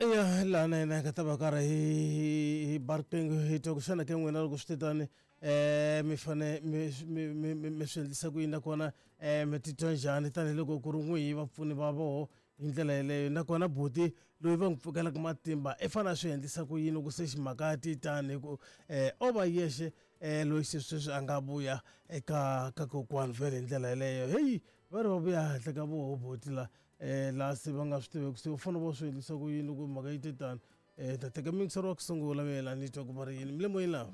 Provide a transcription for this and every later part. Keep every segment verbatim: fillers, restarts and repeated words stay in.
Eya laha na yena hi nga ta va karhi hi hi ba riqingho hi twa ku xana ke n'wina loko swi te tani um mi fane mi mi mi mi mi swi endlisa ku yini nakona um mi titwa njhani tanihiloko ku ri n'wihi vapfuni va voho hi ndlela yeleyo nakona buti loyi va n'wi pfukelaka matimba i fanele a swi endlisa ku yini loko se ximhaka ti tani hi ku um o va yexe um loyi se sweswi a nga vuya eka ka kokwani vhele hi ndlela yeleyo heyi va ri va vuya henhla ka voho buti la um laha se va nga swi tiveki se u fanele va swi endlisa ku yini loko mhaka yi te tani um ta teka miyingiseri wa ku sungula mina ni twa ku va ri yini mi le moyeni laha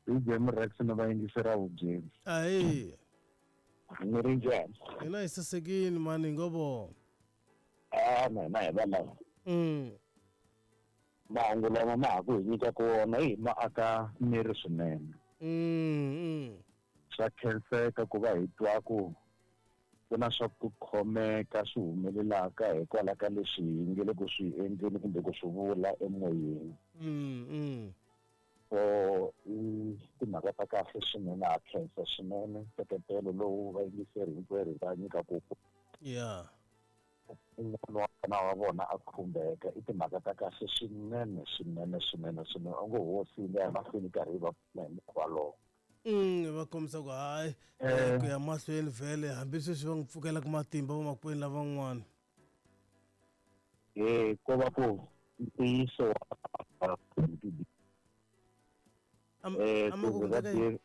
D J Rex na vayingiseri vubyeni. Ahi. Ni ri njhani? Hina hi sasekini mani hi ngo vona. A na hina hi va lava. Mm. Mahungu lama ma ha ku hi nyikaka wona hi ma aka miri swinene. Mm, mm. Swa khenseka ku va hi twa ku ku na swa ku khomeka swi humelelaka hikwalaho ka leswi hi nge le ku swi endleni kumbe ku swi vula emoyeni. Mm, mm. So i timhaka ta kahle swinene, ha khensa swinene nseketelo lowu vayingiseri hinkwerhu va nyikaku Yeah. un'wana wa vana wa vona a khumbeka. I timhaka ta kahle swinene swinene swinene swinene, onge hosi yi nga ya mahlweni karhi yi va pfuna hi mukhuva lowo. Mm, va kombisa ku hayi Eh. ku ya mahlweni vhele hambi sweswi va n'wi pfukelaka matimba vamakwenu lavan'wana. E ko va ku ntiyiso wa Am- eh ama ku ku va endleka yini?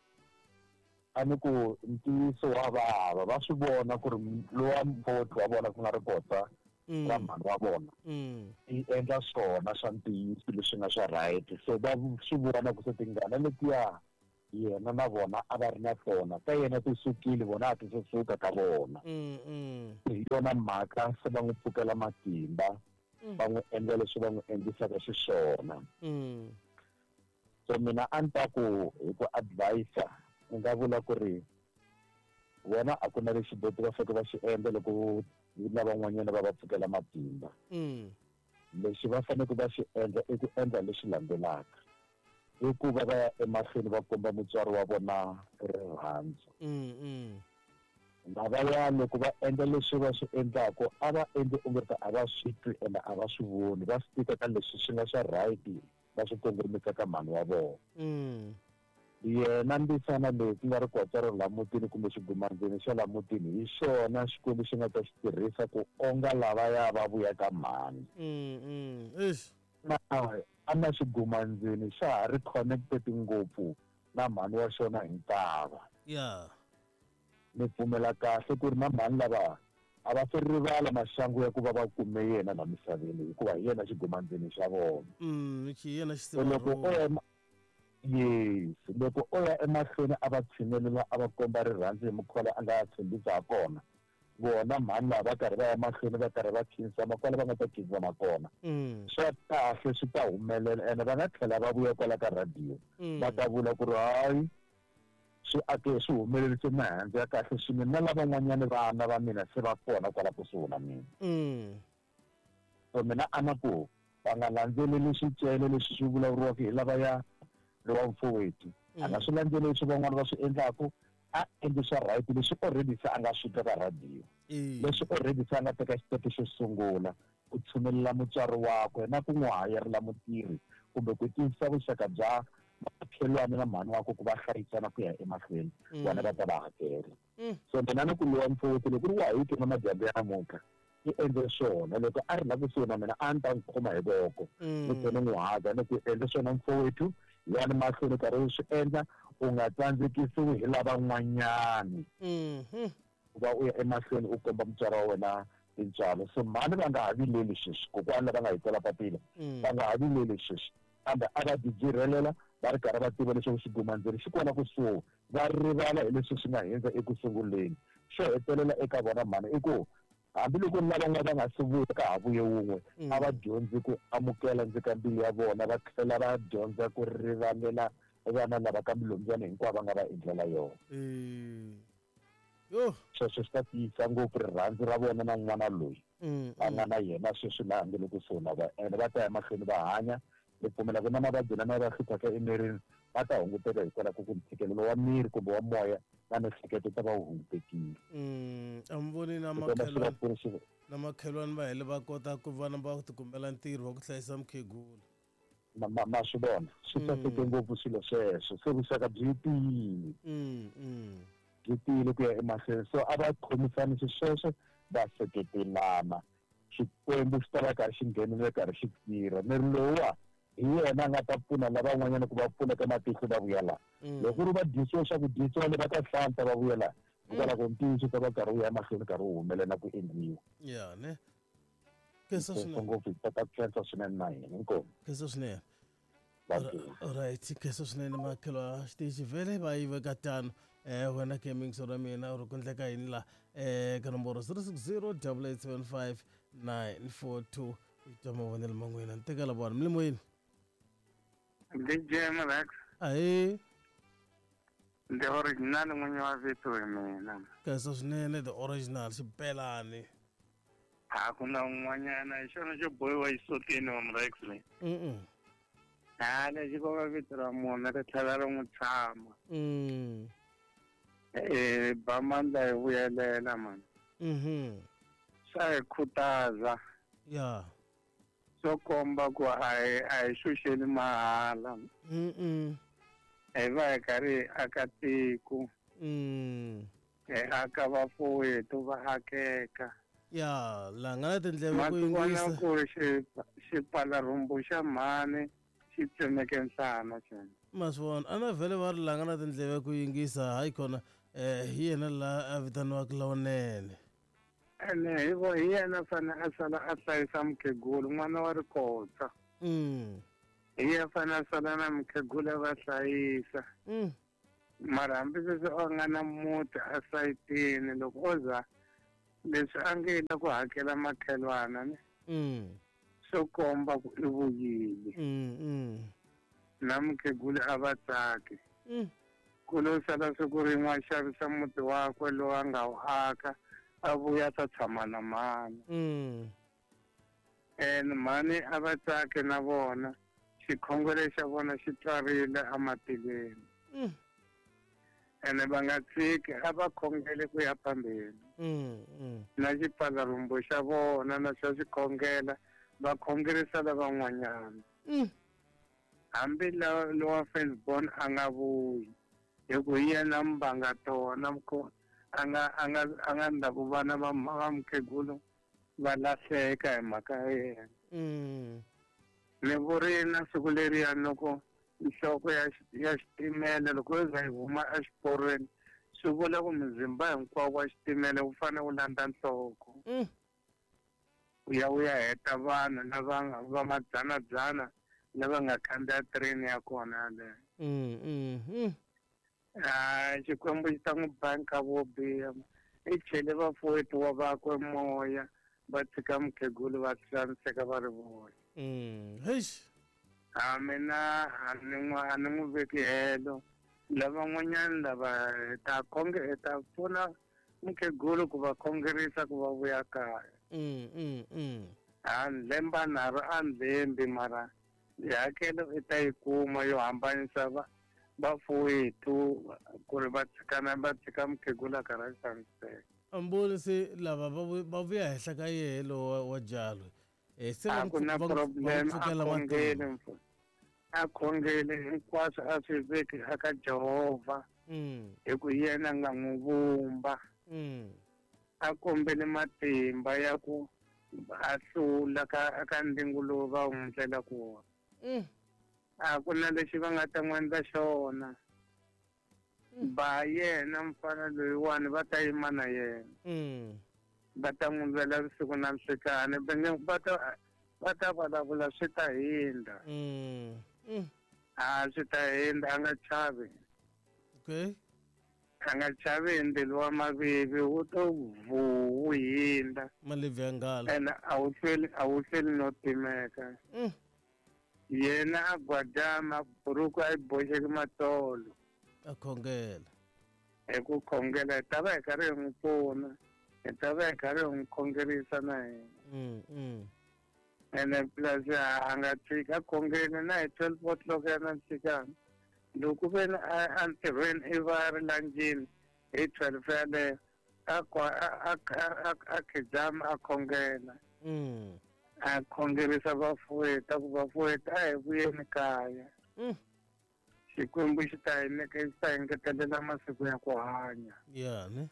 a ni ku ntiyiso wa vava, va swi vona ku ri lowa mfowethu wa vona ku nga ri kota Mm. ra mhani wa vona Mm. i endla swona swa ntiyiso leswi nga swa right, so va swi vona ku se tingana letiya yena na vona a va ri na tona ka yena ti sukile, vona a ti se suka ka vona. Mm, mm. Hi yona mhaka se va n'wi pfukela matimba, Mm. va n'wi endla leswi va n'wi endlisaka xiswona. Mm. So mina a ni ta ku hi ku advisa ni nga vula ku ri vona a ku na lexi boti va faneke va xi endla loko lavan'wanyana va va pfukela matimba. Mm. Lexi va faneke va xi endla i ku endla leswi landzelaka, i ku va va ya emahlweni va komba mutswari wa vona rirhandzu. Mm, mm. Lavaya loko va endla leswi va swi endlaku, a va endli onge ta a va swi twi ende a va swi voni, va swi tika ka leswi swi nga swa right va swi kongomisa ka mhani wa vona. Mm. Yena mbisana leyi ku nga ri kotsa ro la mutini kumbe xigumandzeni xa la mutini, hi xona Xikwembu xi nga ta xi tirhisa ku onga lavaya va vuya ka mhani. Mm, mm. Eish. Na a na xigumandzeni xa ha ri connected ngopfu na mhani wa xona hi ntava. Yeah. Ni pfumela kahle ku ri na mhani lava a va se rivala maxangu ya ku va va kume yena la misaveni, hikuva hi yena xigumandzeni xa vona. Mm, xi yena So loko o ya ema- yes, loko o ya emahlweni a va tshinelela, a va komba rirhandzu hi mukhuva lowu a nga tshembisa ha kona, vona mhani lava va karhi va ya mahlweni va karhi va khinsama kwala va nga ta khinsama kona, Mm. swa kahle swi ta humelela ene va nga tlhela va vuya kwala ka radio Mm. va ta vula ku ri hayi swi ake swi humelerise mihandzu ya kahle swinene na lavan'wanyani vana va mina se va kona kwala kusuhi na mina. Mm. So mina a na ku va nga landzeleli swicele leswi swi vulavuriwaka hi lavaya lowa mfowethu, a nga swi landzeleli leswi van'wana va swi endlaku, a endli swa right leswi already se a nga swi twa ka radio, Eh. leswi already se a nga teka xitepe xo sungula ku tshunelela mutswari wakwe na ku n'wi hayarela mutirhi kumbe ku tiyisisa vuxaka bya makhelwani na mhani wakwe ku va hlayisana ku ya emahlweni, Mm. vona va ta va hakela. Mm. So mina ni ku lowa mfowethu loko ku ri wa hi twa madyambu ya namuntlha i endle swona, loko a ri la kusuhi na mina a ni ta n'wi khoma hi voko ni tlhela ni n'wi haga ni ku endle swona mfowethu, yani mahlweni karhi u swi endla, u nga tsandzekisiwi hi lavan'wanyani Mhm. ku va u ya emahlweni u komba mutswari wa wena tintswalo. So mhani va nga ha vileli sweswi, kokwani lava nga hi tsala papila Mm. va nga ha vileli sweswi, kambe a va tibyirhelela va ri karhi va tiva leswaku xigumandzeni xi kona kusuhi, va rivala hi leswi swi nga hundza eku sunguleni. Xo hetelela eka vona mhani i ku hambiloko lavan'wana va nga se vuya ka ha vuye wun'we, Mm. a va dyondzi ku amukela ndzi ka mbilu ya vona, va tlhela va dyondza ku rivalela vana lava ka milombyana hinkwavo va nga va endlela yona. Eh. Yo. Sweswo swi ta tiyisa ngopfu rirhandzu ra vona na n'wana loyi Mm. va nga na yena sweswi laha nge le kusuhi na va, ene va ta ya mahlweni va hanya. Ni pfumela ku na mavabyi lama va hluphaka emirini va ta hunguteka hikwalaho ka ku ntshikelelo wa miri kumbe wa moya na miehleketo ta va wu hungutekile. A mi voni na makhelwani na makhelwani va hele va kota ku vana va tikumbela ntirho wa ku hlayisa mukhegula. Ma ma swi vona swi saseke ngopfu swilo sweswo, se vuxaka byi tiyile byi tiyile ku ya emahlweni. So a va khomisani xisweswo va seketelana, Xikwembu xi ta va karhi xi nghenelela karhi xi tirha. Miri lowuwa hi yena a nga ta pfuna lavan'wanyana ku va pfuneka matihlo va vuya laha. Loko ku ri va dyisiwa swa ku dyisiwa le va ta hlanta va vuya laha, hikwalaho ntiyiso ta va karhi wu ya mahlweni karhi wu humelela ku endliwa. Ya ne khensa swinene ngopfu, ta ta khensa swinene na hina inkomu. Khensa swinene. Alright, khensa swinene makhelo a xitichi vhele va yi veka tano. Eh wena ke mingso ra mina u ri ku endleka yini la eh ka nomboro zero six zero double eight seven five nine four two i twa mavonelo ma n'wina. Ni tekela vona mi le moyeni. D J Mrex. Ahee. The original n'winyi wa vito hi mina. Khensa swinene the original xibelani. A ku na un'wanyana hi xona xo bohiwa xisotini wa Mrex leyi. Mm. A lexi ko va vito ra munhu ri tlhela ri n'wi tshama. Mm. Eh ba mandla hi vuyelela man. Mhm. Swa hi khutaza. Ya. Swo komba ku a hi a hi xuxeli mahala. Mm. Hi va hi karhi hi aka tiko. Mm. Hi aka vafowethu va akeka. Ya, la nga na tindleve ku yingisa. Ku xi xipfalarhumbu xa mhani xi tsemeke nhlana xana. Ma swi vona, a na vhele va ri la nga na tindleve ku yingisa hayi khona eh hi yena la a vitaniwaka lawunene. Ene hi vo hi yena fane a sala a hlayisa mukhegulu n'wana wa rikotsa. Mm. Hi yena fane a sala na mukhegulu va hlayisa. Mm. Mara hambi sweswi a nga na muti a sayitini loko o za leswi a nge la ku hakela makhelwana ne. Mm. Swo komba ku i vuyile. Mm. Mm. Na mukhegulu a va tsaki. Mm. Ku lo sala siku rin'we a xavisa muti wakwe lowu a nga wu aka a vuya ta tshama na mhani. Mm. And mhani a va tsaki na vona, xikhongelo xa vona xi twarile ematilweni. Mm. Ene va nga tshiki a va khongele ku ya phambeni. Mm. Mm. Na xipfalarhumbu xa vona na xa xikhongela va khongerisa lavan'wanyana. Mm. Hambi lowa firstborn a nga vuyi hi ku hi yena mbanga tona a nga a nga a nga ndla ku vana va va mukhegulu va lahleka hi mhaka ya yena. Mm. Ni vurile na siku leriya loko nhloko ya ya xitimela loko yo za yi huma exiporweni swi vula ku muzimba hinkwawo wa xitimela wu fanele wu landza nhloko. Mm. Wu ya wu ya heta vanhu lava va madzanadzana lava nga khandziya train ya kona yaleyo. Mm, mm, mm. Ah, Xikwembu xi ta n'wi ba nkarhi wo biha. I chele vafowethu wa vakwe moya va tshika mukhegulu va xaniseka va ri vona. Mm. Heish. A mina a ni n'wi a ni n'wi veki helo. Lavan'wanyana lava hi ta khonge hi ta pfuna mukhegulu ku va khongerisa ku va vuya kaya. Mm, mm, mm. A lemba nharhu a ndlembi mara hakelo i ta yi kuma yo hambanisa va vafowethu ku ri va tshikana va tshika mukhegula karhi a xaniseka. Amboni se lava va va vuya henhla ka yehe lowa wa jalo. Eh se va A ku na problem, a khongele a khongele hinkwaswo a swi veki aka Jehovha. Mm. Hi ku yena a nga n'wi vumba. Mm. A kombele matimba ya ku a hlula ka ka ndzingo lowu va wu n'wi ndlelaka wona. Mm. A ku na lexi va nga ta n'wi endla xona. Ba yena mfana loyiwani va ta yima na yena. Mm. Va ta n'wi lwela vusiku na nhlikani va nge va ta va ta vulavula swi ta hindza. Mm. Mm. A swi ta hindza a nga chavi. Okay. A nga chavi hi ndzilo wa mavivi wu to vhu wu hindza. Malebvu ya nghala. Ene a wu hlweli a wu hlweli no timeka. Mm. Yena a gwajama buruku a yi boxeke matsolo. A khongela. Hi ku khongela hi ta va hi karhi hi n'wi pfuna. Hi ta va hi karhi hi n'wi khongerisa na hina. Mm, mm. Ene plus a nga tshiki a khongele na hi twelve o'clock ya na nhlikani. Loko ve entirhweni i va ri lanjini hi twelve yaleyo a a a a khijama a khongela. Mm. A khongerisa vafuweta ku vafuweta a hi vuyeni kaya. Mm. Xikwembu xi ta hi nyika xi ta engetelela masiku ya ku hanya. Yeah, ne?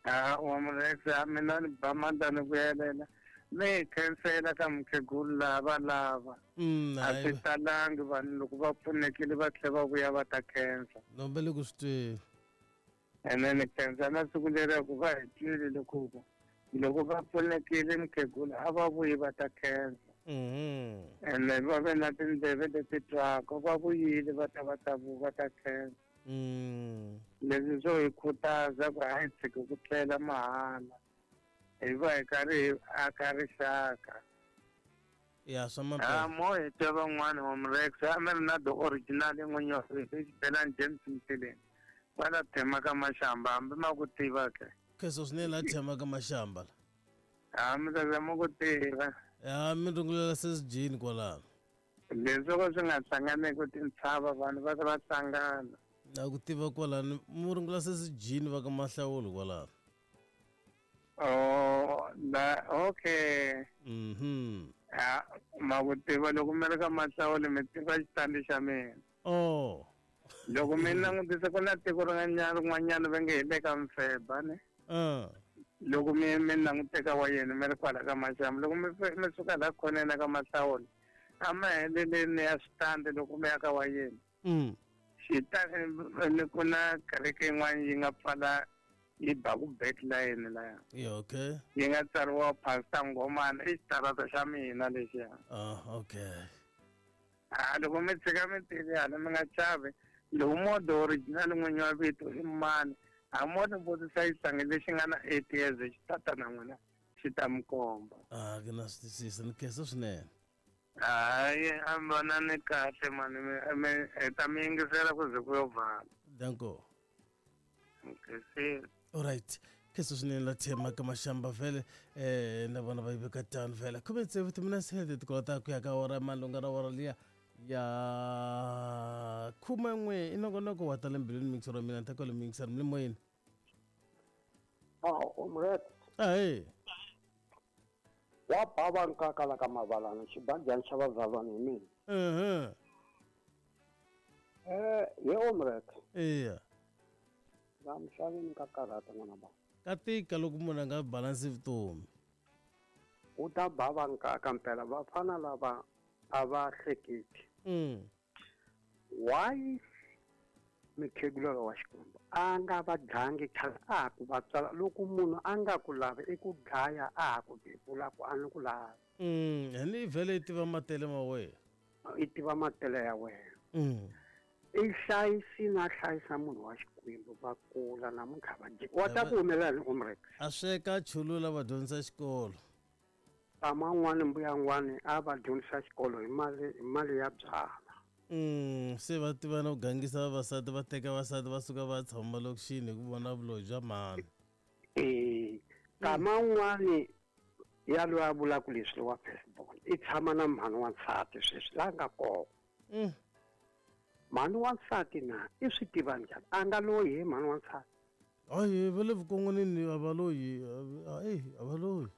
Ah, wa Murex, mina ni ba mandla ni vuyelela. Ni khensela ka mukhegulu lava lava. Mm, a swi talangi vanhu loko va pfunekile va tlhela va vuya va ta khensa. Nombe le ku swi tweni. Ene ni khensa na siku leriya ku va hi twile loko ku loko va pfunekile mukhegulu a va vuyi va ta khensa. Mhm. Ene va ve na tindleve leti twaka va vuyile va ta va ta va ta khensa. Mm. Leswi swo hi khutaza ku a hi tshiki ku tlela mahala. Hi va hi karhi hi aka rixaka. Ya swa mampela. Ah, mo hi twa van'wana wa Murex a mi ri na the original n'winyi wa xibelani James Mtileni. Va la thema ka Mashamba hambi ma ku tiva ke. Kheso swinene la thema ka Mashamba la. Ah, mi ta zama ku tiva. Ya mi rungulela sesijini kwalano. Leswi ko swi nga hlanganeki tintshava vanhu va va hlangana. Na ku tiva kwalano mu rungula sesijini va ka Mahlawulo kwalano. Oh, la okay. Mhm. Ah, ma ku tiva loko mi ri ka Mahlawulo mi tiva xitandi xa mina. Oh. Loko mi langutisa ku na tiko rin'wanyana rin'wanyana va nge hi le ka Mfeba ne. Ah. Loko mi mi languteka wa yena mi ri kwala ka Mashamba loko mi mi suka la khoneni ka Mahlawulo a ma heleleni ya switandi loko mi ya ka wa yena. Mm. Xitandi ku na kereke yin'wana yi nga pfala yi ba ku back line laya. Yeah, okay. Yi nga tsariwa Pastor Ngomana i xitarata xa mina lexiya. Ah, okay. Ah, loko mi tshika mi tivi hala mi nga chavi loko mo the original n'winyi wa vito i mani a mo ni vutisa xihlangi lexi nga na eight years xi tata na n'wina xi ta mi komba. Ah, ke na swi twisisa ni khensa swinene. Hayi a mi vona ni kahle mani mi hi ta mi yingisela ku ze ku yo vala. Danko. Okay, see. All right. Kheso swinene la thema ka Mashamba vhele eh na vona va yi veka tano vhele. Khume tsevu timinetse ti kota ku ya ka ora malunga ra ora liya ya khume n'we i nongonoko wa tala mbilwini mixer wa mina ta kwale mixer mi le moyeni. Ah, Omret. Ahee. Wa bava nkaka la ka mavalana xibajani xa vazalwana hi mina. Mhm. Eh, ye Omret. Eya. La misaveni ka karhata n'wana ba. Ka tika loko munhu a nga balansi vutomi. U ta bava nkaka mpela vafana lava a va hleketi. Mm. Why mukhegula wa Xikwembu a nga va dlangi khale a ku va tswala loko munhu a nga ku lavi i ku dlaya a ku bebula ku a ni ku lavi. Mm, ni vhele i tiva matele ma wena. I tiva matele ya wena. Mm. I hlayisi na hlayisa munhu wa Xikwembu va kula namuntlha va dyi. Wa ta ku humelela ni Omrex. A sweka chulula va dyondzisa xikolo. Man'wani mbuya n'wani a va dyondzisa xikolo hi mali hi mali ya byala. Mm, se va tiva na ku gangisa vavasati va teka vasati va suka va tshama malokixini hi ku vona vuloyi bya mhani. Eh, kaman'wani ya loyi a vulaka leswi wa Facebook i tshama na mhani wa nsati sweswi la nga kona. Mm. Mhani wa nsati na i swi tiva njhani a nga loyi hi mhani wa nsati. Hayi va le vukon'wanini a va loyi a a va loyi.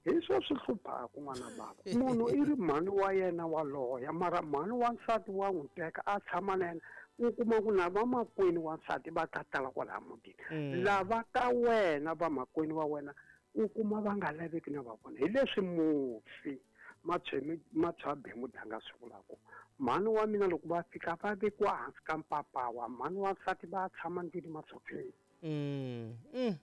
Hi swo swi hluphaka n'wana bava munhu i ri mhani wa yena wa loya mara mhani wa nsati wa n'wi teka a tshama na yena u kuma ku na vamakwenu wa nsati va ta tala kwalaha mutini lava ka wena vamakwenu wa wena u kuma va nga laveki na va vona hi leswi mufi Matshwabe Mudanga swi vulaka mhani wa mina loko va fika va vekiwa hansi ka mpapawa mhani wa nsati va tshama ndlwini masofeni. Mm. Mm.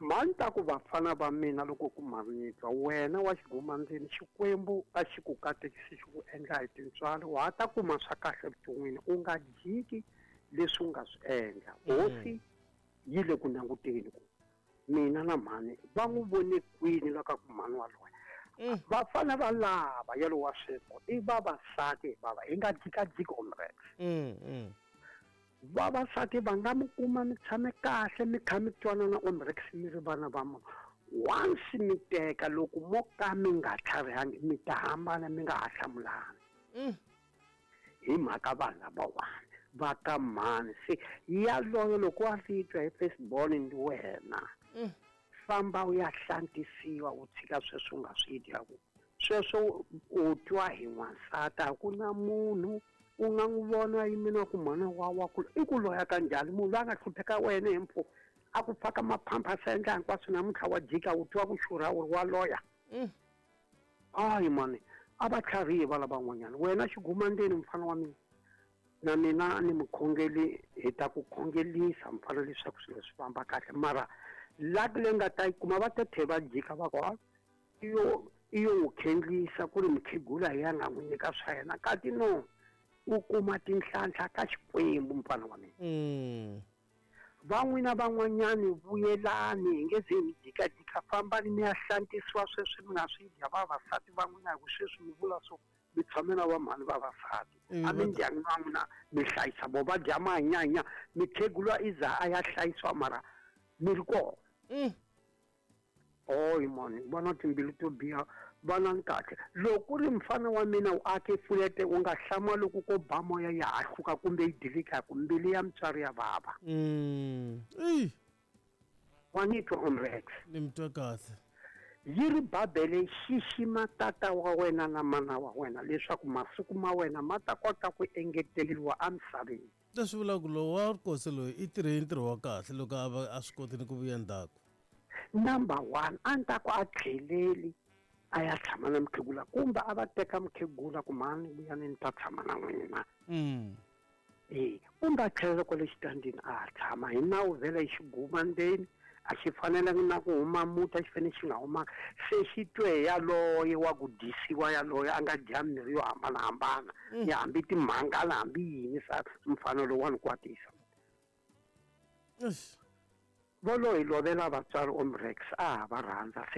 Mhani ta ku vafana va mina loko ku manyitwa wena wa xiguma ndzeni Xikwembu a xi ku katekisi xi ku endla hi tintswalo wa ha ta kuma swa kahle evuton'wini u nga jiki leswi u nga swi endla. Hosi yi le ku languteni ku mina na mhani va n'wi vone kwini la ka ku mhani wa loya. Vafana va lava yalo wa sweswo i vavasati bava hi nga jikajiki Omrex. Mm. Vavasati va nga mi kuma mi tshame kahle mi kha mi twanana Omrex mi ri vana va munhu once mi teka loko mo ka mi nga tlharihangi mi ta hambana mi nga ha hlamulani. Mm. Hi mhaka vanhu lavawani va ka mhani se yaloyo loko wa swi twa hi first born ndi wena famba u ya hlantisiwa u tshika sweswo u nga swi dyaku sweswo u twa hi n'wansati a ku na munhu u nga n'wi vona yimina ku mhana wa wa ku i ku loya ka njhani munhu loyi a nga hlupheka wena hi mpfhuka a ku faka maphamphasi a endla hinkwaswo namuntlha wa jika u twa ku xurha u ri wa loya hayi mani a va tlharihi va lavan'wanyana wena xigumandzeni mfana wa mina na mina ni mukhongeli hi ta ku khongelisa mfana leswaku swilo swi famba kahle mara laki leyi nga ta yi kuma va ta tlhe va jika va ku i yo i yo n'wi khendlisa ku ri mukhegula hi ya nga n'wi nyika swa yena kati no u kuma tinhlanhla ka Xikwembu mfana wa mina van'wina van'wanyani vuyelani hi nge ze mi jikajika fambani mi ya hlantisiwa sweswi mi nga swi dya vavasati van'wina hi ku sweswi mi vula swo mi tshame na vamhani vavasati a mindyangwini wa n'wina mi hlayisa vo va dya manyanya mikhegulwa i za a ya hlayisiwa mara mi ri kona oyi mani vana timbilu to biha vana kahle loko ku ri mfana wa mina u ake fulete u nga hlama loko ko ba moya ya hahluka kumbe yi dilika ku mbilu ya mutswari ya vava wa ni twa Omrex ni mi twa kahle yi ri Bibele xixima tata wa wena na mana wa wena leswaku masiku ma wena ma ta kota ku engeteriwa emisaveni leswi vulaka ku lowu wa rikosi loyi i tirhe ntirho wa kahle loko a va a swi kotini ku vuya ndzhaku number one a ni ta ku a tlheleli a ya tshama na mukhegula kumbe a va teka mukhegula ku mhani vuyani ni ta tshama na n'wina e kumbe a tlhelela kwale xitandini a tshama hi nawu vhele xiguma ndzeni a xi fanelangi na ku huma muti a xi fanele xi nga humanga se xi twe yaloye wa ku dyisiwa yaloye a nga dya mirhi yo hambanahambana ya hambi timhangala hambi yini sa mfano lowani kwatisa volo hi lovela vatswari Omrex a ha va rhandza se